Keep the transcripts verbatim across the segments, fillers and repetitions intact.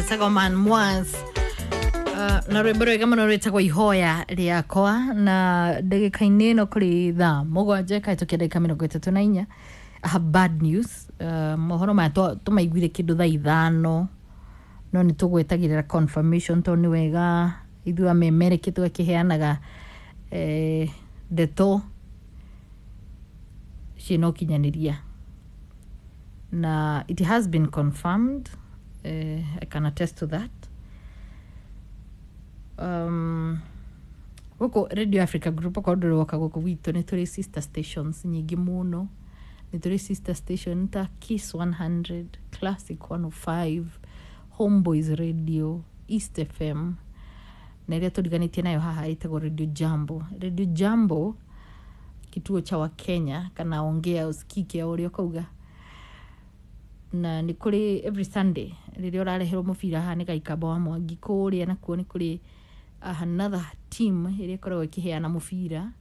Etagwo Man Mwas. Uh, na rwĩmbo rwega mũno rwĩtagwo ihoya rĩakwa na ndagĩka-inĩ ĩno kũrĩ thaa mũgwanja ĩkahĩtũkia ndagĩka mĩrongo ĩtatũ na inya. I have bad news. Uh, mohoro maya tũmaiguire kĩndũ thaa ithano no nĩ tũgwetagĩrĩra confirmation tondũ nĩ wega ithuĩ amemereki tũgakĩheanaga eh, ndeto ciĩna ũkinyanĩria na it has been confirmed. uh, I can attest to that. um, gũkũ Radio Africa Group okorwo ndũrĩ woka gũkũ gwitũ nĩ tũrĩ sister stations nyingĩ mũno. Nĩ tũrĩ sister station ta Kiss one hundred, Classic one oh five, Homeboys Radio, East F M na ĩrĩa tũriganĩtie nayo haha ĩtagwo Radio Jambo. Radio Jambo kituo cha Wakenya kana ongea usikike o ũrĩa ũkauga. Na nĩ kũrĩ every Sunday rĩrĩa ũrareherwo mũbira haha nĩ Gaikamba wa Mwangi kũrĩa nakuo nĩ kũrĩ another team ĩrĩa ĩkoragwo ĩkĩheana mũbira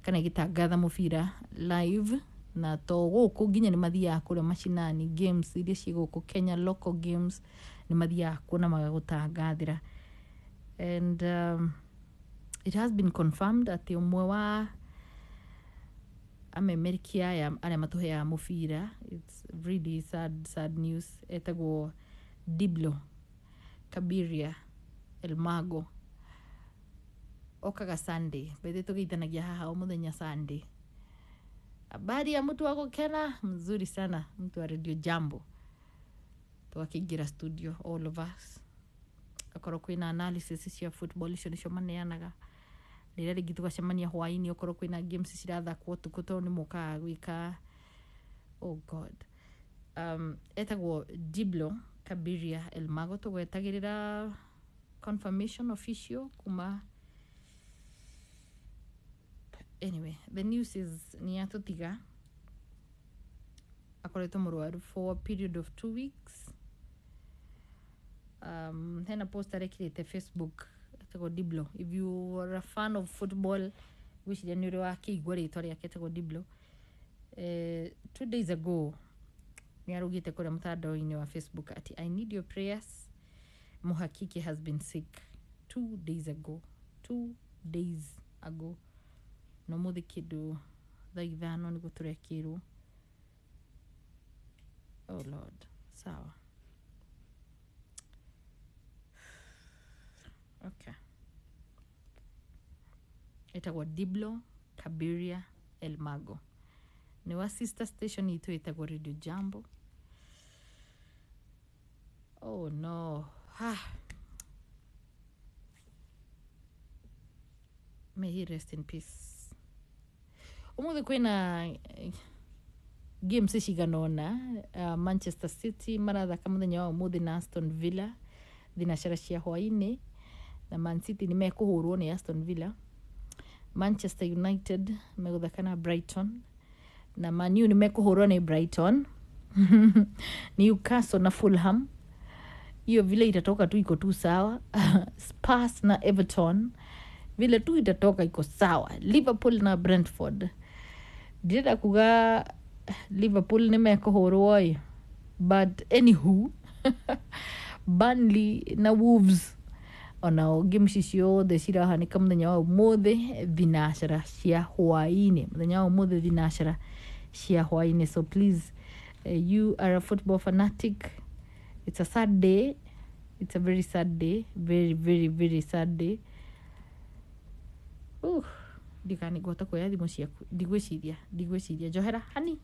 kana ĩgĩtangatha mũbira live na to gũkũ nginya nĩ mathiaga kũrĩa macinani games iria ciĩ gũkũ Kenya local games nĩ mathiaga kuo na magagũtangathĩra. And um, it has been confirmed atĩ ũmwe wa amemeriki aya arĩa matũheaga mũbira, it's really sad, sad news, etagwo Diblo Kabiria Elmago okaga Sunday bethe tũgeithanagia haha o mũthenya Sunday. Habari ya mtu wa gũkena mzuri sana, mtu wa Radio Jambo. Tũgakĩingĩra studio all of us, okorwo kwĩna analysis cia football icio nĩcio maneanaga. Rĩrĩa rĩngĩ tũgacemania hwaĩ-inĩ okorwo kwĩna games cirathakwo ũtukũ tondũ nĩ mokaga gwĩka. Oh God. Um, etagwo Diblo Kabiria Elmago tũgwetagĩrĩra confirmation official kuma. Anyway, the news is nĩ atũtiga, akoretwo mũrwaru for a period of two weeks. Um, hena post arekĩrĩte Facebook etagwo Diblo. If you are a fan of football gwĩciria nĩ ũrĩ wakĩigua rĩtwa rĩake etagwo Diblo. Eh, two days ago nĩ arugĩte kũrĩa mũtandao-inĩ wa Facebook ati I need your prayers, Muhakiki has been sick. Two days ago, two days ago no mũthĩ kĩndũ thaa ithano nĩguo tũrekĩrwo. Oh Lord, sawa. Okay. Etagwo Diblo Kabiria Elmago. Nĩ wa sister station itũ ĩtagwo Radio Jambo. Oh no. Ah. May he rest in peace. Ũmũthĩ kwĩna games cigana ũna. Uh, Manchester City marathaka mũthenya wa ũmũthĩ na Aston Villa thinacara cia hwaĩ-inĩ, na Man City nĩ mekũhũrwo nĩ Aston Villa. Manchester United megũthaka na Brighton, na Man U nĩ mekũhũrwo nĩ Brighton. Newcastle na Fulham, hiyo vile itatoka tu iko tu sawa. Spurs na Everton vile tu itatoka iko sawa. Liverpool na Brentford, ndirenda kuga Liverpool nĩ mekũhũrwo ĩ, but anywho Burnley na Wolves onao games ciothe cirahanĩka mũthenya wa ũmũthĩ thinacara cia hwaĩ-inĩ, mũthenya wa ũmũthĩ thinacara cia hwaĩ-inĩ. So please, uh, you are a football fanatic, it's a sad day, it's a very sad day, very very very sad day. Uh, ndikani ngũhota kuoya thimũ ciaku, ndigwĩciria ndigwĩciria njohera hani.